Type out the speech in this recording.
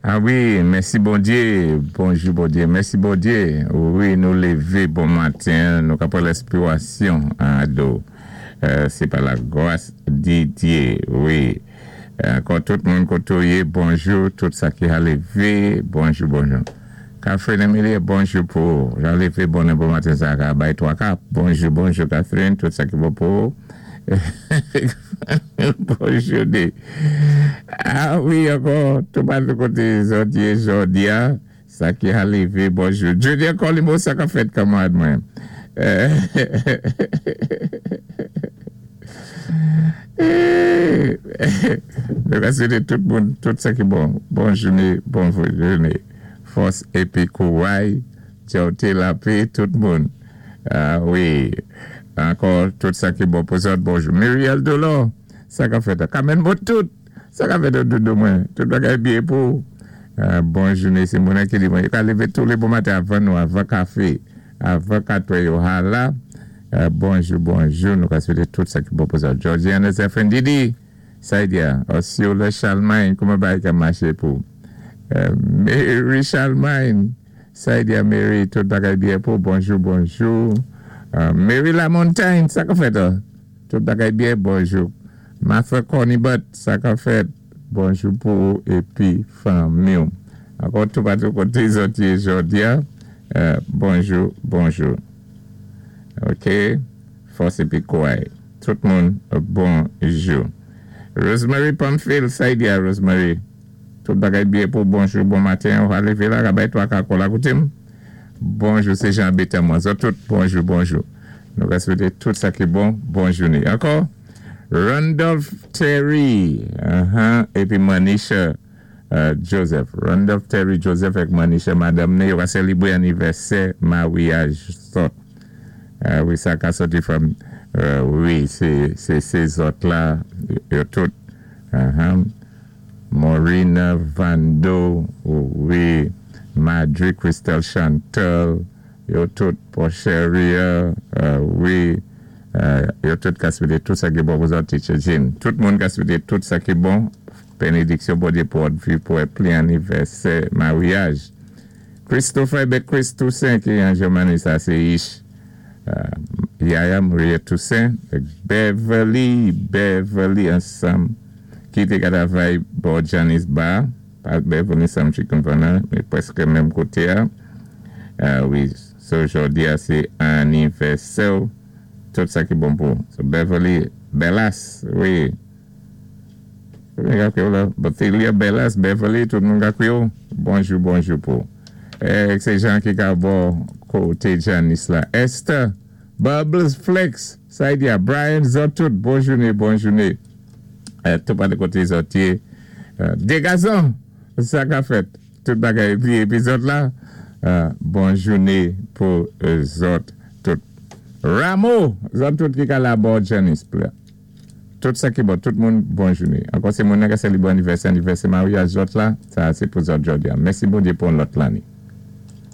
A wi, mèsi Bondyé, bonjou Bondyé, mèsi Bondyé, wi nou lévé bon maten, nou ka pran lèspirasyon ado, sé pa la gras di Dyé, wi, ankò tout moun koté w yé bonjou, tout sa ki ha lévé, bonjou bonjou. Catherine Emilie bonjou pou ou, jan lévé bonè bon maten sa ka bay 3 ka, bonjou bonjou Catherine, tout sa ki bon pou ou. Bonjou de Ah wi ankò toupatou kote zòt ye jodi a sa ki a leve bonjou Junior Colimo sa kap fèt kanmarad mwen Nou ka swete tout moun tout sa ki bon bon joune bon joune fòs epi kouray Djòte lape tout moun Ah wi Ankò tout sa ki bon pou zòt bonjou Murielle Dolor sa kap fèt Kamèn bon tout sa kap fèt doudou mwen tout bagay byen pou ou bon joune se moun an ki di mwen yo ka leve tou le bon maten avan nou avan kafe avan katrè yo hala bonjou bonjou nou ka swete tout sa ki bon pou zòt Georgiana Zephyrin Didi Saidia Osceola Chalmagne kouman bagay ka mache pou Mary Chalmagne. Saidia Mary tout bagay byen pou bonjou bonjou Mary Lamontagne sa kap fèt tout bagay byen bonjou Martha Cornibut sa kap fèt bonjou pou ou epi fanmiw ankò toupatou kote zòt ye jodia bonjou bonjou ok fòs epi kouray tout moun bonjou Rosemary Pamphile Saidia Rosemary. Tout bagay byen pou bonjou bon maten ou aleve la rabay 3 ka kòl akoute m bonjou se Jean Betan mwen zòt tout bonjou bonjou nou ka swete tout sa ki bon bon joune ankò Randolph Terry ahan epi Manisha Joseph Randolph Terry Joseph ak Manisha madanm ni yo ka selebre anivèsè maryaj zòt wi sa ka sòti from wi se se zòt la yo tout ahan. Morina Vando wi Madri Christelle Chantal yo tout Porcheria wi yo tout ka swete tout sa ki bon pou zòt Teacher Jean tout moun ka swete tout sa ki bon benediksyon Bondye pou òt vi pou wè plen anivèsè maryaj Christopher ebyen Chris Toussaint ki an Germany sa se ish Yaya Maria Toussaint Beverly Beverly ansanm ki te ka travay bò Johnny's Bar, pa Beverly Sam Chicken Corner, men prèske menm kote a. Wi, so jodi a se anivèsè w, tout sa ki bon pou ou. So Beverly Bellas, wi. Tout moun ka kwe w la. Bothelia Bellas, Beverly, tout moun ka kwe w. Bonjou, bonjou pou ou. Se jan ki ka bò kote Janice la. Esther, Bubbles, Flex, Saidia, Brian, zòt tout, bon joune, bon joune. Tout pale kote zòt ye. Degazon! Sa ka fèt. Tout bagay epi epi zòt la. Bon joune pou zòt tout. Ramo! Zòt tout ki ka la bò Janice pla. Tout sa ki bon. Tout moun bon joune. Ankò se moun nan ka selebre anivèsè anivèsè maryaj zòt la. Sa a se pou zòt jodi a. Mèsi Bondye pou yon lòt lane.